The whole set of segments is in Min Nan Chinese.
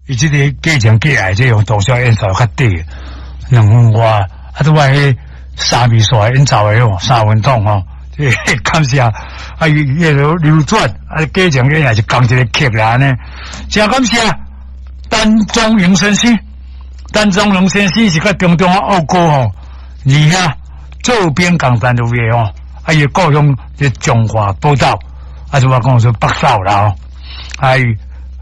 伊這个假情假愛，這用同銷演奏較短，2分外，啊，拄我彼三味線演奏的吼，3分鐘吼，這感謝，啊，伊迄个流轉，啊，假情假愛是仝一个曲啦，按呢，誠感謝陳宗榮先生，陳宗榮先生是佮中中啊奧哥吼，二兄做兵共單位的吼，啊，伊故鄉是彰化寶島，啊，就我講說北掃啦吼，啊，伊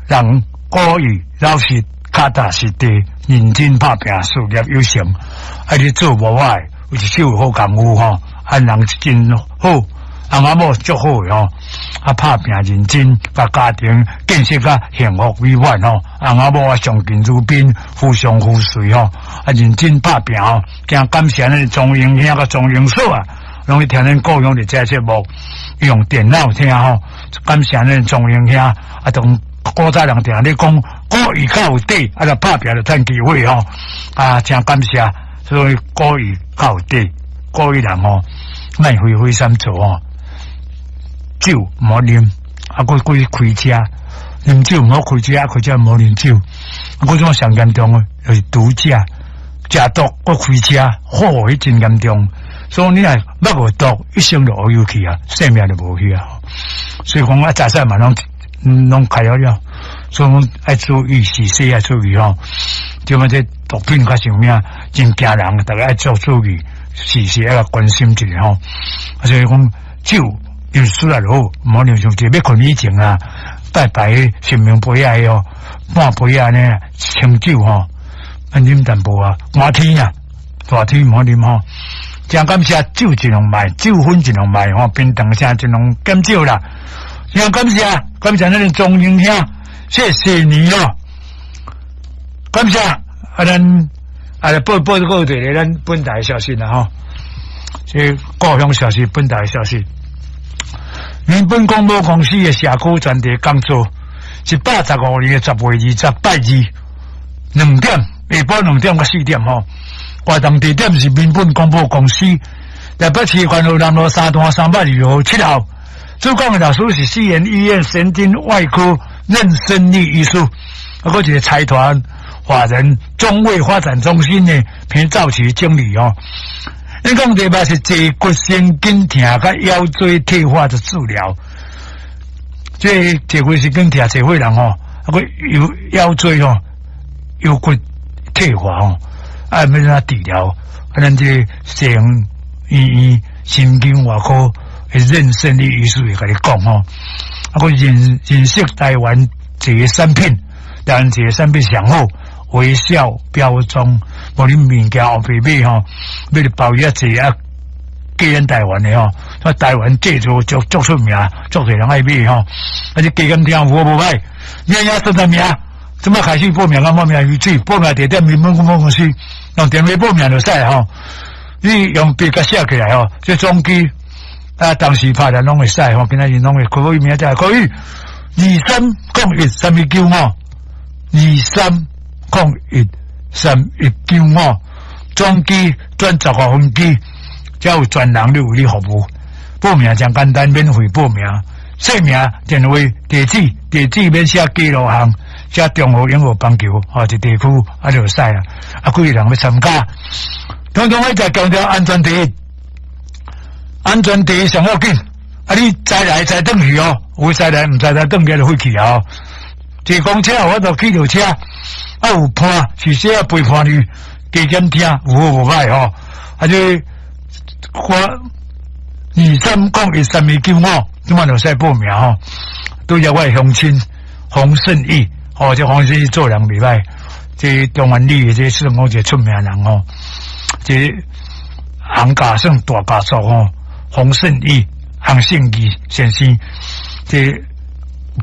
人古意老實、腳踏實地、認真拍拚、事業有成，啊，你做無歹，有一手好功夫吼，啊，人真好，翁仔某足好的吼，啊，拍拚認真，共家庭建設甲幸福美滿吼，翁仔某啊相敬如賓，互相扶持吼，啊，認真拍拚吼，誠感謝咱莊榮兄佮莊榮嫂啊，攏去聽咱故鄉佇這節目，用電腦聽吼，感謝咱莊榮兄啊，同古早人定咧講，古語較有底，啊，就拍拚就趁機會吼，啊，誠感謝，所以古語較有底，古語人吼，莫費費心做吼，酒毋好啉，啊，閣閣去開車，啉酒毋好開車，啊，開車毋好啉酒，啊，閣種上嚴重的就是毒駕，食毒閣開車，吼，彼真嚴重。所以你若捌過毒，一生就烏有去啊，性命就無去啊。所以講啊，早細嘛攏攏開了了，所以講愛注意，時時愛注意吼。對嘛，這毒品較啥物真驚人，逐家愛做注意，時時愛關心一下吼。啊，所以講酒啉少就好，毋好啉傷濟。欲睏以前啊，拜拜神明杯仔哦，半杯仔呢清酒吼，啊啉淡薄啊，寒天啊，熱天毋好啉吼。誠感謝酒盡量賣，酒粉盡量賣吼，平常聲盡量減少啦。誠感謝，感謝咱的莊英兄，謝謝你哦。感謝啊，咱啊來報報告一個咱本台消息啦吼，這故鄉消息，本台消息。民本廣播公司的社區專題講座，115年的10月20拜二兩點，下晡2點到4點吼。活動地點是民本廣播公司，台北市環和南路3段302號7號。主講的老師是西研醫院神經外科任勝利醫師，啊，閣一個財團法人中衛發展中心的彭兆奇經理哦。演講題目是坐骨神經痛佮腰椎退化的治療。這坐骨神經痛，這歲人吼，啊，閣腰腰椎吼，腰骨退化吼。啊，欲按怎治療？啊，咱這個西園醫院神經外科的任勝利醫師會共你講吼。啊，閣認認識台灣一個產品，台灣一個產品上好，微笑標裝，無你物件後壁買吼，買著包藥濟啊，過咱台灣的吼，啊，台灣製造足足出名，足濟人愛買吼。啊，這加減聽有好無歹，名也算在名，這擺開始報名，佮報名為止，報名地點民本廣播公司。用電話報名就使吼，你用筆共寫起來吼，這總機啊，當時拍來攏會使吼，今仔日攏會可以明仔載可以23013195，23013195，總機轉15分機，才有專人咧為你服務。報名誠簡單，免費報名，姓名、電話、地址，地址免寫記錄項。寫中和永和板橋吼，一地區啊就會使啊。啊，幾個人欲參加，統統愛再強調安全第一，安全第一上要緊。啊，你知來知轉去哦，有知來毋知來轉去就廢去啊。坐公車有法度去著車，啊有伴是啥陪伴你加減聽，有好無歹吼。啊，這我23013195，這擺就使報名吼。拄則我的鄉親洪勝義。哦，這黃先生做人袂歹，這中原里的這算講一個出名人吼，這洪家算大家族吼，洪勝義、洪勝義先生，這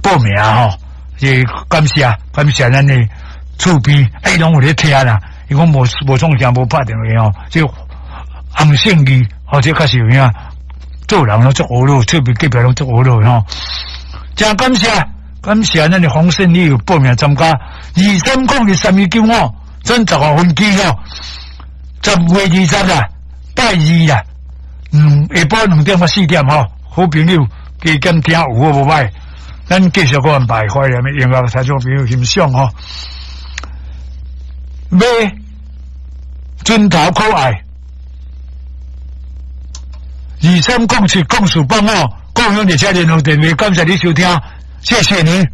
報名吼，這感謝感謝咱的厝邊，哎，攏有咧聽啦，伊講無無創啥無拍電話吼，這洪勝義，哦，這確實有影，做人攏足呵咾，厝邊隔壁攏足呵咾吼，誠感謝。感謝咱的洪勝利有報名參加，23013195，轉15分機吼，10月20啦，拜二啦，下晡2點到4點吼，好朋友加減聽有好無歹，咱繼續閣安排懷念的音樂，聽眾朋友欣賞吼。馬準頭可愛，23070485，共享列車聯絡電話，感謝你收聽，謝謝你。